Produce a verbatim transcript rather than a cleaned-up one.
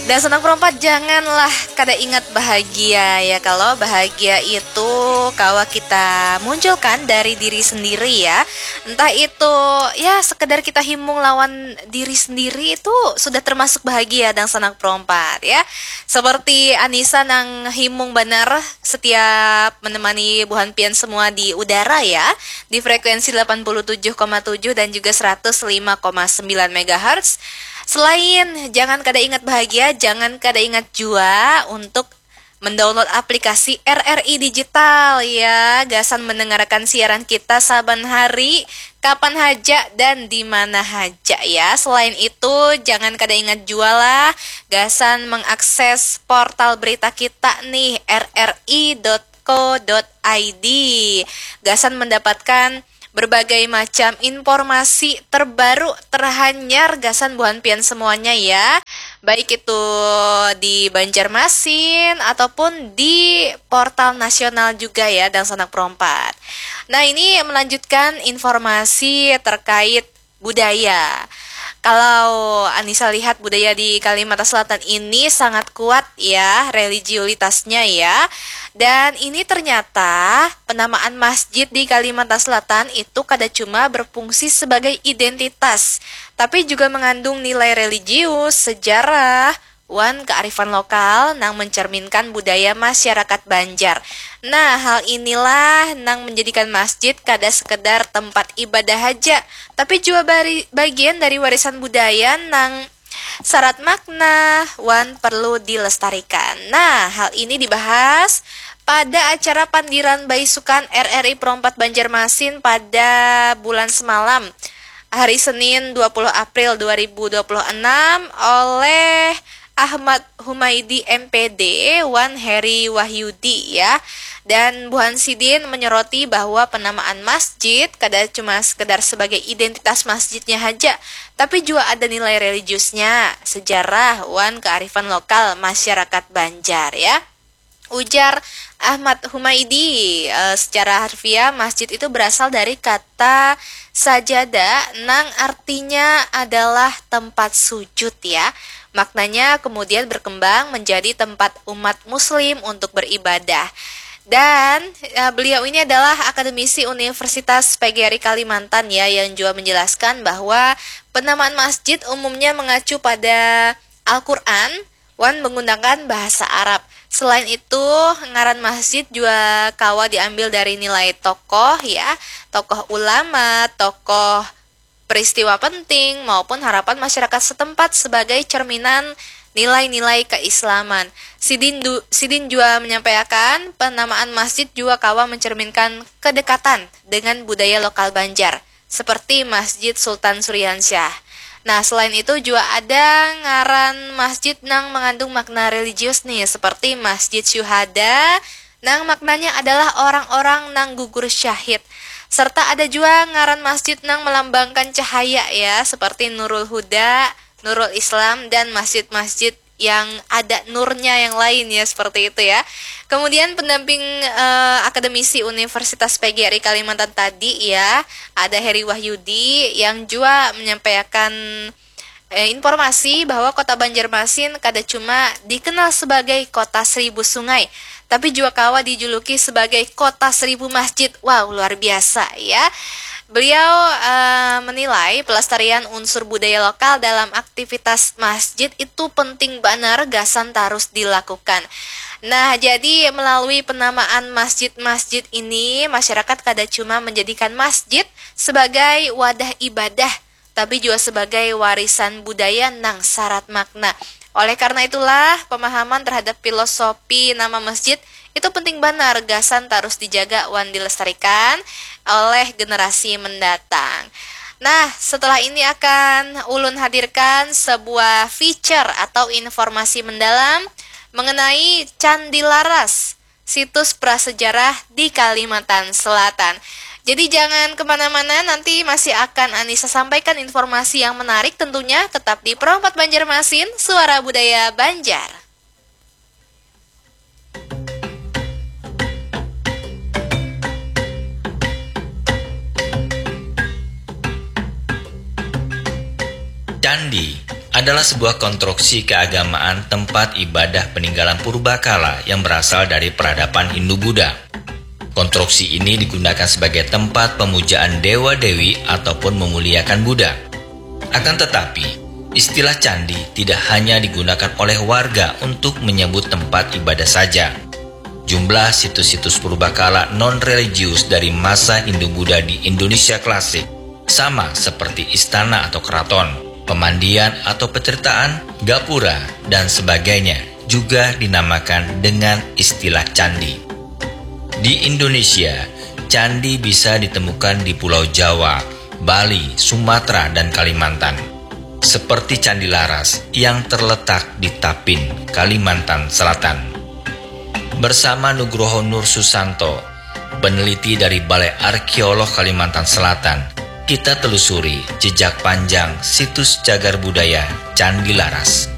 Dan senang perompat, janganlah kada ingat bahagia ya. Kalau bahagia itu kawa kita munculkan dari diri sendiri ya. Entah itu ya sekedar kita himung lawan diri sendiri itu sudah termasuk bahagia dan senang perompat ya. Seperti Anissa nang himung banar setiap menemani buhan pian semua di udara ya, di frekuensi delapan puluh tujuh koma tujuh dan juga seratus lima koma sembilan megahertz. Selain jangan kada ingat bahagia, jangan kada ingat jua untuk mendownload aplikasi R R I Digital ya, gasan mendengarkan siaran kita saban hari, kapan haja dan di mana haja ya. Selain itu, jangan kada ingat jua lah gasan mengakses portal berita kita nih, R R I dot co dot I D, gasan mendapatkan berbagai macam informasi terbaru terhanyar gasan buhan pian semuanya ya, baik itu di Banjarmasin ataupun di portal nasional juga ya, dan sanak perompat. Nah, ini melanjutkan informasi terkait budaya. Kalau Anissa lihat, budaya di Kalimantan Selatan ini sangat kuat ya religiulitasnya ya. Dan ini ternyata penamaan masjid di Kalimantan Selatan itu kada cuma berfungsi sebagai identitas, tapi juga mengandung nilai religius, sejarah, wan kearifan lokal nang mencerminkan budaya masyarakat Banjar. Nah, hal inilah nang menjadikan masjid kada sekedar tempat ibadah haja, tapi juga bari, bagian dari warisan budaya nang syarat makna wan perlu dilestarikan. Nah, hal ini dibahas pada acara pandiran baisukan R R I Perompat Banjarmasin pada bulan semalam, hari Senin dua puluh April dua ribu dua puluh enam, oleh Ahmad Humaidi M P D wan Heri Wahyudi ya. Dan buhan sidin menyoroti bahwa penamaan masjid kada cuma sekedar sebagai identitas masjidnya haja, tapi juga ada nilai religiusnya, sejarah, wan kearifan lokal masyarakat Banjar ya. Ujar Ahmad Humaidi, eh, secara harfiah masjid itu berasal dari kata sajada nang artinya adalah tempat sujud ya. Maknanya kemudian berkembang menjadi tempat umat muslim untuk beribadah. Dan eh, beliau ini adalah akademisi Universitas P G R I Kalimantan ya, yang juga menjelaskan bahwa penamaan masjid umumnya mengacu pada Al-Quran wan menggunakan bahasa Arab. Selain itu, ngaran masjid juga kawa diambil dari nilai tokoh ya, tokoh ulama, tokoh peristiwa penting, maupun harapan masyarakat setempat sebagai cerminan nilai-nilai keislaman. Sidin, du, sidin juga menyampaikan penamaan masjid juga kawa mencerminkan kedekatan dengan budaya lokal Banjar, seperti Masjid Sultan Suriansyah. Nah, selain itu juga ada ngaran masjid nang mengandung makna religius nih, seperti Masjid Syuhada, nang maknanya adalah orang-orang nang gugur syahid. Serta ada juga ngaran masjid nang melambangkan cahaya ya, seperti Nurul Huda, Nurul Islam, dan masjid-masjid yang ada nurnya yang lain ya, seperti itu ya. Kemudian pendamping eh, akademisi Universitas P G R I Kalimantan tadi ya, ada Heri Wahyudi yang juga menyampaikan eh, informasi bahwa kota Banjarmasin kada cuma dikenal sebagai kota seribu sungai, tapi juga kawa dijuluki sebagai kota seribu masjid. Wow, luar biasa ya. Beliau eh, menilai pelestarian unsur budaya lokal dalam aktivitas masjid itu penting banar gasan tarus dilakukan. Nah, jadi melalui penamaan masjid-masjid ini, masyarakat kada cuma menjadikan masjid sebagai wadah ibadah, tapi juga sebagai warisan budaya nang syarat makna. Oleh karena itulah, pemahaman terhadap filosofi nama masjid itu penting banar gasan tarus dijaga wan dilestarikan oleh generasi mendatang. Nah, setelah ini akan ulun hadirkan sebuah feature atau informasi mendalam mengenai Candi Laras, situs prasejarah di Kalimantan Selatan. Jadi jangan kemana-mana, nanti masih akan Anissa sampaikan informasi yang menarik tentunya, tetap di Pro empat Banjarmasin, Suara Budaya Banjar. Candi, adalah sebuah konstruksi keagamaan tempat ibadah peninggalan purbakala yang berasal dari peradaban Hindu-Buddha. Konstruksi ini digunakan sebagai tempat pemujaan dewa-dewi ataupun memuliakan Buddha. Akan tetapi, istilah candi tidak hanya digunakan oleh warga untuk menyebut tempat ibadah saja. Jumlah situs-situs purbakala non-religius dari masa Hindu-Buddha di Indonesia klasik sama seperti istana atau keraton, pemandian atau petirtaan, gapura, dan sebagainya juga dinamakan dengan istilah candi. Di Indonesia, candi bisa ditemukan di Pulau Jawa, Bali, Sumatera, dan Kalimantan. Seperti Candi Laras yang terletak di Tapin, Kalimantan Selatan. Bersama Nugroho Nur Susanto, peneliti dari Balai Arkeolog Kalimantan Selatan, kita telusuri jejak panjang situs cagar budaya Candi Laras.